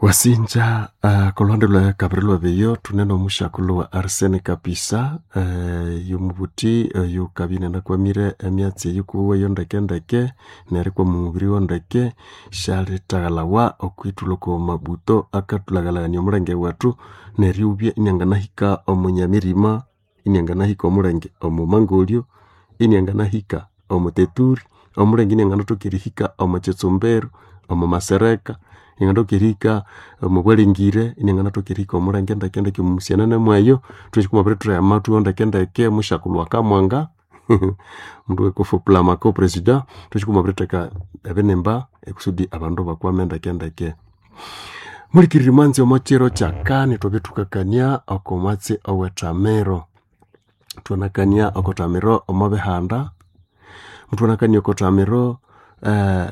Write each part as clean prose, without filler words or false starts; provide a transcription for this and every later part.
Wasinja kolwande lwa kabiri lwebiyo thune nomusyakulhu wa Arsene Kapisa yomubuthi oyukabya inanakwamire emyatsi eyi kuwe yo ndeke nerikwama omubiri wondeke syalithaghalhawa okwithulha oko mabuto akathulhaghalhania omulenge wethu neryubya inianganahika omo Nyamirima, inianganahika omulenge omo Mangolyo, inianganahika omo Teturi, omulenge inianganathoka erihika omo Kitsumbiro, omo Masereka, inianganathoka erihika omo Bwalengire, inianganathoka erihika omulenge ndeke omo Musianene mweyo, thwatsi kumabirithwegha amathu ndeke musyakulhu akamwanga omundu wekofoplamako president, thwatsi kumabiritheka ebinimba ekusudi abandu bakwame ndeke ndeke. Mulikirire mwanzi omo kiro kyakani ithwabya thukakania oko mwatsi owethamiro. Thwanakania oko thamiro omo bihanda, muthwanakania oko thamiro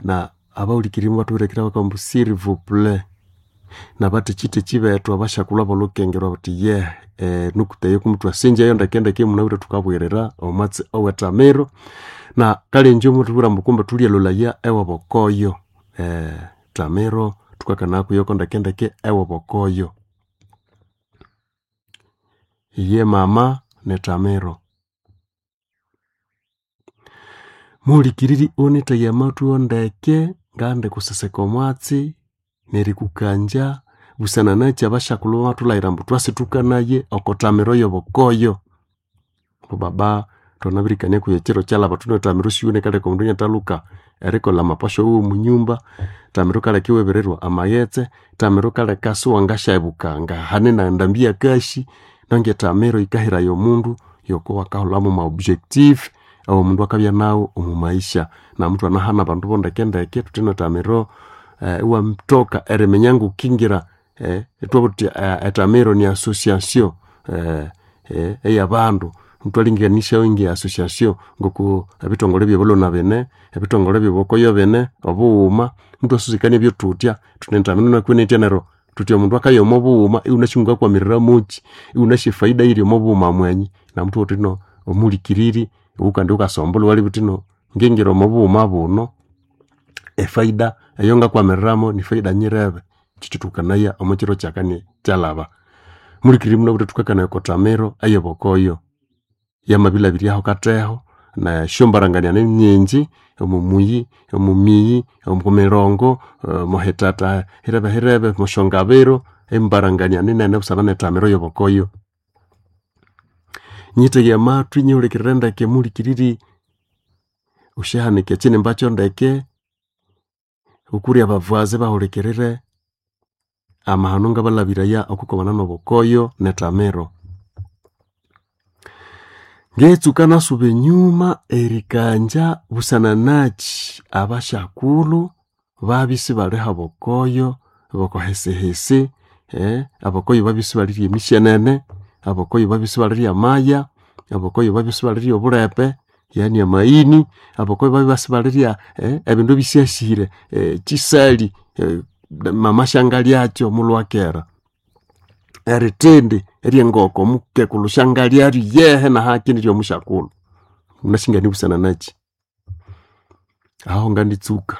na abawulikirire mubathubirekera bakabugha ambu s'il vous plait nabathekitheki bethu abasyakulhu abolhukengerwa bathi yehe enukuta eyo kumuthwasinjayo ndeke ndeke munabwire thukabugirira omwatsi owethamiro na kale ingye muthubwira ambu kumbe thulyalholaya ewabokoyo thamiro thukakanaya kuyoko ndeke ndeke ewabokoyo. Iye mama nethamiro. Muhulikiriri ghunithegha amathu ndeke ngaghandi kuseseka omwatsi nerikukangya busana nakyi abasyakulhu bamathulhaghira ambu twasithukanaye oko thamiro yobokoyo. Ambu baba thwanabirikania kuyu ekyiro kyalhaba thune thamiro siwene yikaleka omundu inathalhuka erikolha amapasyo wuwe omunyumba, thamiro yikaleka iwabirirwa amaghetse, thamiro yikaleka siwangasyabuka ngahane nendambi eyakasi, nangye thamiro yikahiraya omundu yoko wakaholhamu ama objectif awomundu akabya nawu omo maisha. Namuthwanahana abandu bondeke ndeke thuthi ino thamiro iwathoka eriminya ngokingira ithwabugha thuthi ethamiro ni association eyabandu ithwalinganisyayo nge association ngoko ebithongole byabalhwa bine, ebithongole byobokoyo bine, obughuma muthwasusukania byothutya thuthi nethamiro inakwene neryo thuthi omundu akaya omo bughuma ighunasi ngakwamirira mukyi, ighunasi efaida eyiri omo bughuma mwenyi namuthubugha thuthi ino omuhulikiriri iwe kandi wukasombolha iwalebya wuthi ino ngingira omo bughuma buno efaida eyangakwamiriramu nifaida nyirebe. Kyekyathwakanaya omo kiro kyakani kyalhaba. Muhulikiriri munabwire thukakanaya oko thamiro eyobokoyo yamabilhabiryaho katheho nesyombarangania ninyingi omo muyi, omo miyi, omo mirongo, omo hithatha hirebe hirebe, omwasyongabiro embarangania ninene busana nethamiro eyobokoyo. Nyitheghe amathwi nyihulikirire ndeke muhulikiriri wusyahanika ekyinimba kyondeke, wukure abavazi bahulikirire amahano ngabalhabiraya okwikwamana nobukoyo nethamiro. Ngetsuka nasuba enyuma erikangya busana nakyi abasyakulhu babya isibali habokoyo bokohisihisi, abokoyo babya isibalirya emisyenene, abokoyo babya isibalirya amaya, abokoyo babya isibalirya obulepe yani amaghini, abokoyo babya isibalirya ebindu ebisyasire kyisali mama syangalyakyo mulhwakera. Erithindi eryengoko omukekulhu syangalyalyo yehe nahaki niryomusyakulhu. Wunasi nganibusana nakyi? Aho nganditsuka.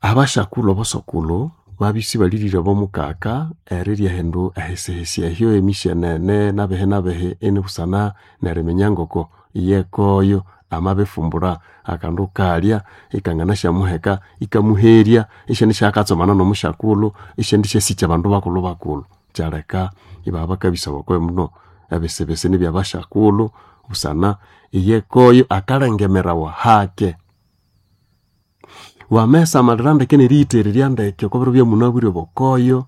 Abasyakulhu abasokulhu babya isibalirire abomukaka erirya ehindu ehisihisi ehyo emisyenene nabihi nabihi inibusana neriminya ngoko iyekoyo amabifumbura akandu kalya ikanganasyamuheka ikamuherya isyandisyakatsomana nomusyakulhu isyandisyasikya abandu bakulhu bakulhu. Kyaleka ibabya bakabisa obokoyo muno ebisibisi nibyabasyakulhu busana iyekoyo akalengemerawa hake. Wamayisamalira ndeke neriyithererya ndeke okwa biro byamunabwire obokoyo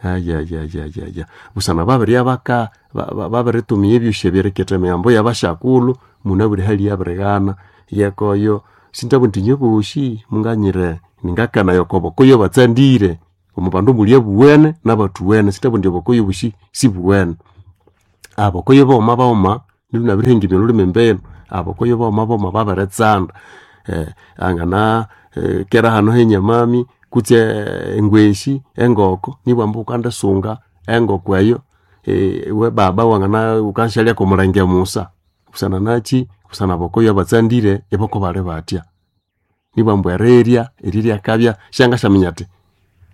ayayayaya busana babiribya baka babiritumia ebyosi ebyeriketha emihambo yabasyakulhu munabwire hali yabirighana iyekoyo sindabugha indi inywe bosi munganyire ningakanaya oko bokoyo batsandire omo bandu muli abuwene nabathuwene sindabugha indi obokoyo obosi sibuwene. Abokoyo baghuma baghuma nabirihengemya olhulimi mbinu, abokoyo baghuma baghuma babiritsanda angana kera hano henyamami kutse engweshi engoko nibwa ambu ghukandisunga engoko eyo iwe baba wangana ghukansyalya komulenge musa busana nakyi busana abokoyo abatsandire iboko bali bathya. Nibwa ambu erirya, erirya akabya syangasyaminya athi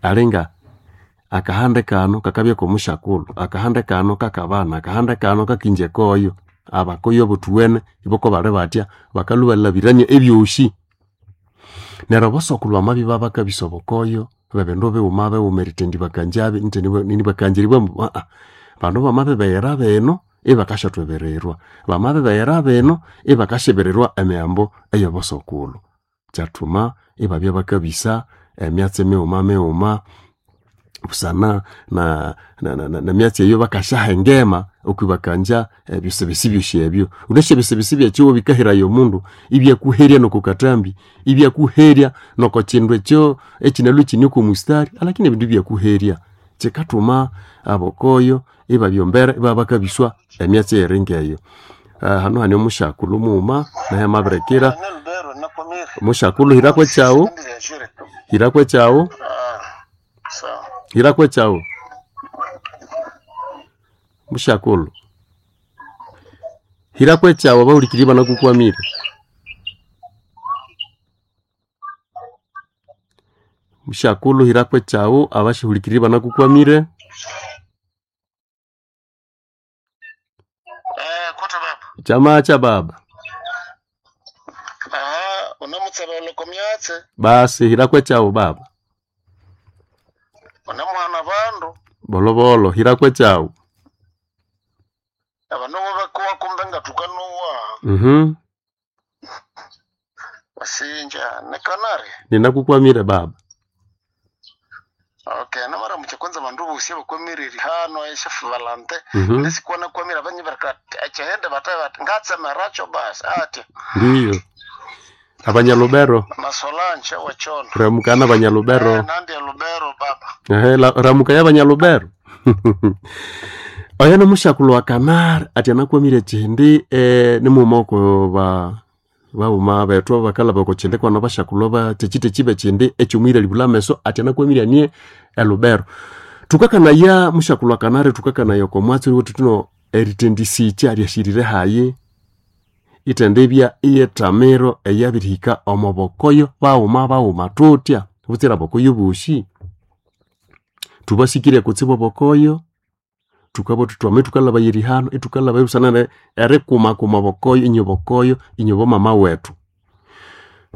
Alinga akahande kano kakabya komushakulu, akahande kano kakabana, akahande kano kakinje koyo. Abakoyo bothuwene iboko bali batya bakalhwa ibalabirania ebyosi. Neryo obosokulu bamabya ibabakabisa obukoyo bw'ebindu bighuma bighuma erithendibakangyabi nibakangeribwa ambu bandu bamabibeghera bino ibakasyathwebererwa, bamabibeghera bino ibakasyibirirwa emihambo ey'obosokulhu. Kyathuma ibabya bakabisa emyatsi mighuma mighuma busana nemyatsi eyo bakasyahengema okwibakangya ebisibisi byosi ebyo. Wunasi ebisibisi byekyihugho bikahiraya omundu ibyakuherya noko kathambi, ibyakuherya noko kyindu ekyo ekyinalhwa ikyine oko mustari alakini ebindu ibyakuherya. Kyikathuma abokoyo ibabya embere ibabakabiswa emyatsi eyiri ngeyo. Hanu hane omusyakulhu mughuma naye amabirikira. Musyakulhu hirako ekyaghu, hirako ekyaghu, hirako ekyaghu. Musyakulhu, hirako ekyaghu abahulikiriri ibanakukwamire. Musyakulhu hirako ekyaghu abasyahulikiriri ibanakukwamire. Kote baba. Kyamacha baba. Aha, unamutsebele komyatse, Basi hirako ekyaghu baba. unamuhana bandu, Bolobolo hirako ekyaghu. abandu bakuwa kumbe ngatukanuwa. Basinja nekanari. Ninakukwamire baba. Okay, namara kwanza bandu bosi bakwamiriri hano eshafu valante. Ndisikuona kwamira abanyi baraka echehende bataye bati ngatsemeracho basi ati Ndiyo. Abanyalubero. na Solange wachona. Ramukana abanyalubero. Nandi ya Lubero baba. Ehe, ramuka y'abanyalubero. Oyo nomusyakulhu wa Kanari ati anakwamire kyindi nimughuma oko ba baghuma bethu abakalhaba oko kyindi kwanu abasyakulhu ba kyekyitekyi bekyindi ekyomwiralibulha ameso ati anakwamire anie elubero. Thukakanaya musyakulhu wa Kanari thukakanaya oko mwatsi oyo thuthino erithendisikya ryasirire hayi ithendibya iyethamiro eyabirihika omo bokoyo baghuma baghuma thuthya butsira abokoyo bosi. Thubasikirye kutsibu obokoyo thukabugha thuthi twame thukalhabaya erihano ithukalhabaya busana erikumakuma obokoyo inye bokoyo inye bomama wethu.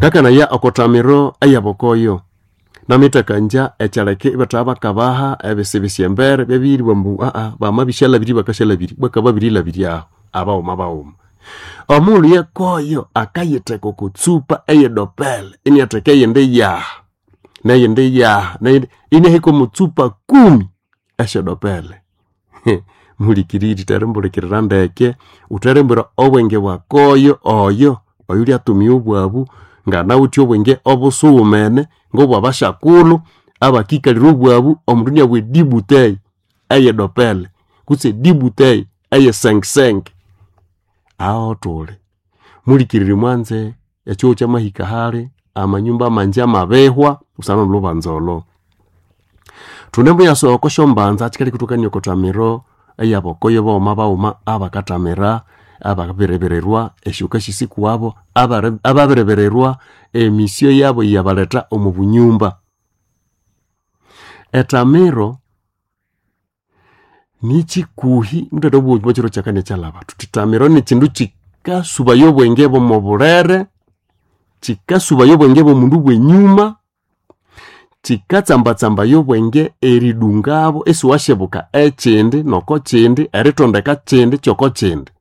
Ngakanaya okothamiro eyabokoyo namittakangya ekyaleka ibathabya bakabaha ebisibisi embere byabiribwa ambu bamabisyalhabirya bakasyalhabirya bakababirilhabirya aho abaghuma baghuma. Omughulhu yekoyo akayitheka oko tsupa eyedopele iniatheka eyindi yaha neyindi yaha neyindi inahika omo tsupa kumi esyedopele. Muhulikiriri therimbulhikirira ndeke wutherimbwira obwenge bwakoyo oyo oyulyatumia obwabu nganawithe obwenge obusughumene ngobwabasyakulhu abakikalira obwabu omundu iniabugha edibuteyi eyedopele kutse edibuteyi eyesengesenge. Aho thuli. Muhulikiriri mwanze ekyihugho kyamahika hali amanyumba amangi amabihwa busana nolhubanza olho. Thunemuyasa oko syombanza kyikaleka ithwakania okothamiro eyabokoyo baghuma baghuma abakathamira ababiribirirwa esyoka sisikuwabo ababiribirirwa emisyo yabo eyabaletha omo bunyumba. Ethamiro nikyikuhi muthathabugha omwa kyiro kyakani ekyalhaba thuthi ethamiro nikyindu kyikasubaya obwenge bw'omo bulere, kyikasubaya obwenge bw'omundu bw'enyuma, kyikatsambatsambaya obwenge eridungabo isiwasyibuka ekyindi noko kyindi erithondeka kyindi kyoko kyindi.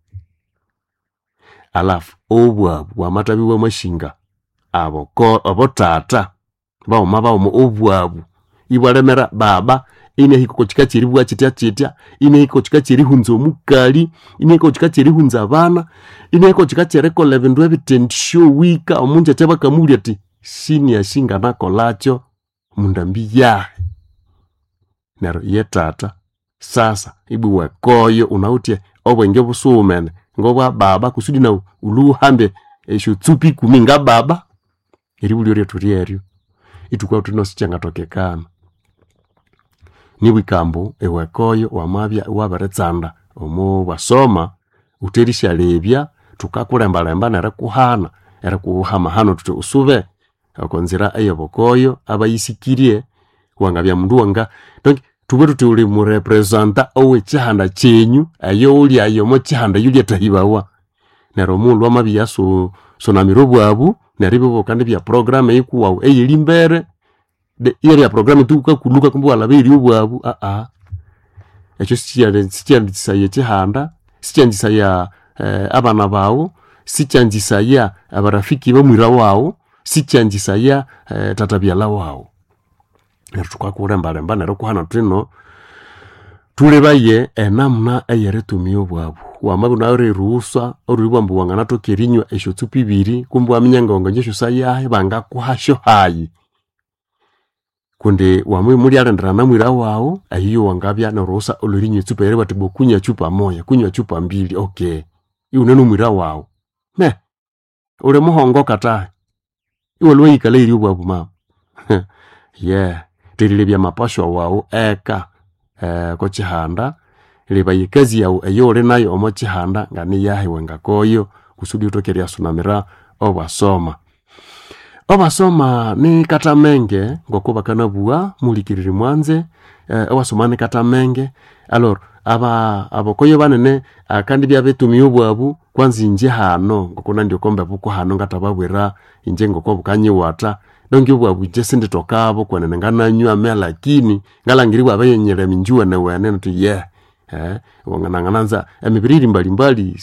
Alafu obwabu bwamathabya ibwamasinga abothatha baghuma baghuma obwabu ibwalemera baba inahika oko kika kyeribugha kyitya kyitya, inahika oko kika kyerihunza omukali, inahika oko kika kyerihunza abana, inahika oko kika kyerikolha ebindu ebithendisyoghika omungyakya bakamubulya athi siniasi nganakolhakyo mundambi yahi. Neryo ye thatha sasa ibwa iwekoyo wunawithe obwenge obusughumene ngobwa baba kusudi nawu wulhwe wuhambe esyotsupa ikumi nga baba. Eribulyo lyethu lyeryo ithukabugha thuthi no sikyangathokekana. Nibwika ambu iwekoyo wamabya iwabiritsanda omo bwasoma wutherisyalebya thukakulembalemba nerikuhana erikuha amahano thuthi usube oko nzira eyobukoyo abayisikirye. Wangabya mundu wanga donc tubwe tuti uli murepresenta ow'ekihanda kyenyu eyo ulyayo omo kihanda eyo lyatahibawa. Neryo omughulhu amabya sunamira obwabu neryo ibyo kandi bya program eyikuwawu eyiri mbere iyabya program tu ukakuluka kumbe iwalaba obwabu ekyo sikyanzisaya ekihanda, sikyanzisaya abana bawu, sikyanzisaya abarafiki bamwira wawu, sikyanzisaya tatabyalha wawu. Neryo thukakulembalemba neryo kuhana thuthino thulebaye enamuna eyeritumia obwabu. Wamabya iwunawithe erighusa ambu wanganathoka erinywa esyotsupa ibiri kumbe iwaminya ngawanganywa esyosayahi bangakuhasyo hayi. Kundi wamabya imulyalindira mwira wawu eyiyo wangabya nerughusa olwerinywa etsupa eribugha athi kunywa chupa moya, kunywa chupa mbili okay iwune nomwira wawu. Me uli muhongo katahi iwalhwa wayikalha eyiri obwabu mama yeah terilebya amapashwa wawu eka okwa kihanda, lebaya ekazi yawu eyaghuli nayu omo kihanda nganiyahi wangakoyo kusudi ghuthoke eriyasunamira obwasoma. Obwasoma nikathamenge ngoko bakanabugha muhulikiriri mwanze, obwasoma nikathamenge alors abakoyo banene akandibya abitumia obwabu kwanza inje hano ngokunandi oko mbebu kuhano ngathababwira inje ngoko bukanyiwatha donc obwabu inje sindithokabo kwenene ngananywa me lakini ngalhangira ibwabirinyilema inje iwenewene indi yeah nangananza emibiri yiri mbalimbali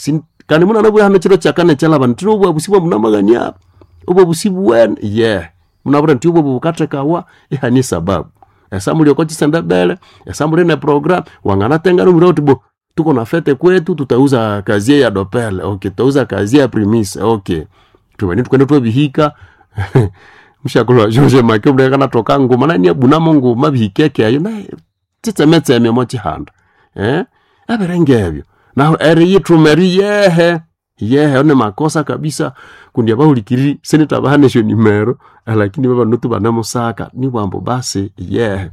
kandi munanabugha hano ekiro kyakani ekyalhaba indi obwabu sibwamunamaghania obwabu sibuwene yeah munabwire indi obwabu bukathekawa ihane esababu. Esamuli oko kisendebele, esamuli ne program wanganatenga nomwira wuthi bo tuko na fete kwetu tutauza kazie ya dopele okay, tutauza kazie ya primise okay, thubane thukende thwabihika mushakulhu wa George Make muleka kanathoka nguma nani abunamo nguma bihikeke eyo naye tsitsemetseme omo kihanda ebiringa ebyo nahu eriyithuma eri yehe yehe ni makosa kabisa kundi abahulikiriri sinithabahana esyonimero lakini babanu banemusaka nibwambu basi yehe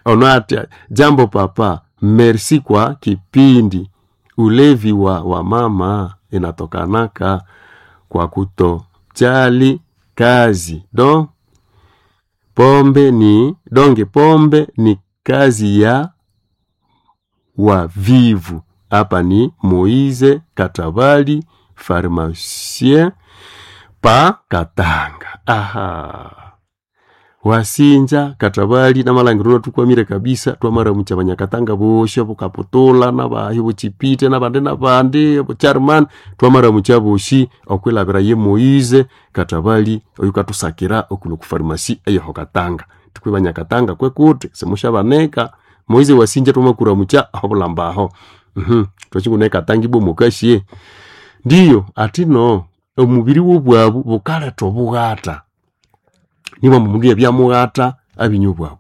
ono atya jambo papa merci kwa kipindi ulevi wa wamama inatokanaka kwa kutojali kazi do pombe ni donge pombe ni kazi ya wavivu hapa ni Moize Katabali pharmacien pa Katanga. Aha. Wasinja Katabali namalangiro tukwamire kabisa twamaramucha abanyakatanga bosho bukaputula nabahi buchipite nabandi nabandi bucharman twamaramucha boshi okwilabira ye Moize Katabali oyu katusakira okulo ku pharmacy eyoho Katanga. Tukwe banyakatanga kwekuti simushabaneka Moize wasinja twamakuramucha aho bulambaho. Twachikune Katanga ibwo mukashie. Ndiyo atino omubiri w'obwabu bukaletha obughata. Nibwa mundu yabyamughata abinywa obwabu.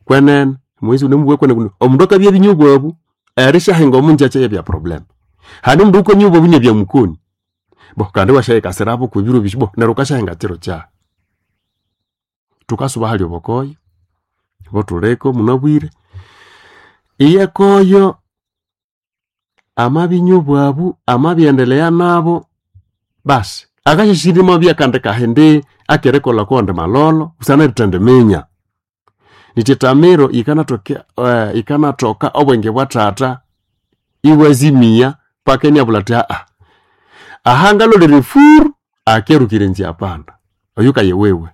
Kwenene Moize unemubugha kwenene kundi omundu akabya abinywa obwabu erisyahinga omunjakya yabya problem. Handi omundu wukanywa obwabu inabya mukoni. Bo kandi iwasyayikasirabo kwebiro bisi bo neryo wukasyahinga kiro kyahi. Thukasuba hali obukoyo buthuliko munabwire. Iyekoyo amabinywa obwabu amabyendelea nabo basi akasyasyirima amabya akandi kahindi akerikolha kuwandi malolo busana erithendiminya. Nitya etamiro yikanathoka obwenge bwa thatha iwazimia paka inabulha athi aha ngalolere efuru akerukira enzya panda oyu kaye wewe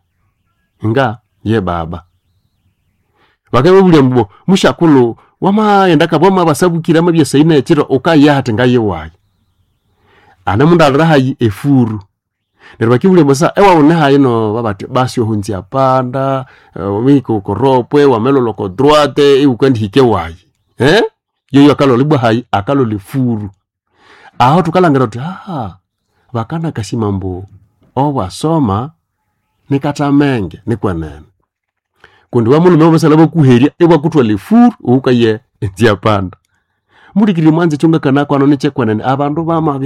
nga ye baba. Bakababulya ambu mushakulhu wamaghenda kabwa wamabasabukira amabya saina ekiro wukayaha athi ngayiwayi. Anemundalira hayi efuru. Neryo bakibulya ambu sa ewawu nihayi no babathi basi ohu nzya panda wamahika okoropwe wamalholha oko droite iwukandihika ewayi. Yoyo akalholha ibwa hayi akalholha efuru. Aho thukalhangira thuthi bakanakasima ambu obwasoma nikathamenge nikwenene. Kundi wamulhume wamasalha bakuherya ibwakuthwalha efuru iwukaye enzya panda. Mulikirire mwanze ekyongakana kwano nikyekwenene abandu bamabya.